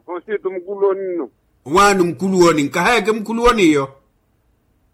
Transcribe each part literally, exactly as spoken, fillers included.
Afonsitu mukuluwoni nno. Waani omukuluwoni nkahayaka emukuluwoni iyo.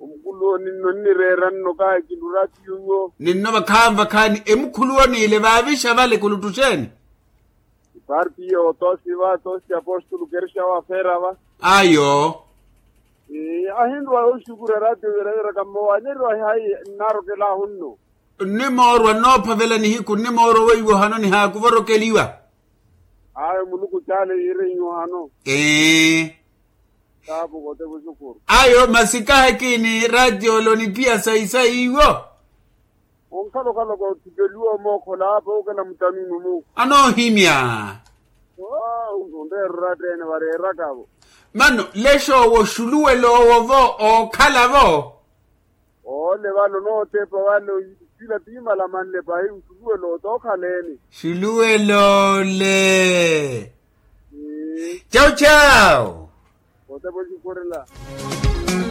Omukuluwoni nno nnireera nno kahekilura ati yuwo. Ninno vakhaani vakhaani emukhuluwoni ile vaavixa vale kuluttu xeeni? Iparti iyo otosi va tosi apostolo kerisha wafeera va. Ayo. Ahinrwa oxukura ratio vira vira kammowaneriwa hayi. Nnaarokelahu nno. Nnimoorwa nnoophavela nihiku nnimoorwa weiwo hano nihaakuvorokeliwa. Ayo muluku caale yiirenyu hano. Ee. Taapu kote vuxukuru. Ayo masi kahakiini ratio lonipiya sayi sayi iwo. Onkhalokhaloko othipeliwa omookhola apa okela mutanunumu. Anoohimya. Onreerura tteene vareerakavo. Mano lexoowo xuluweloowo vo ookhalavo. Ole vale onootepa vale. Sila tiimala manle pahi nxuluwelo otookhaleni. Xuluwelo ole. Cau cau. Otepa oxikurila.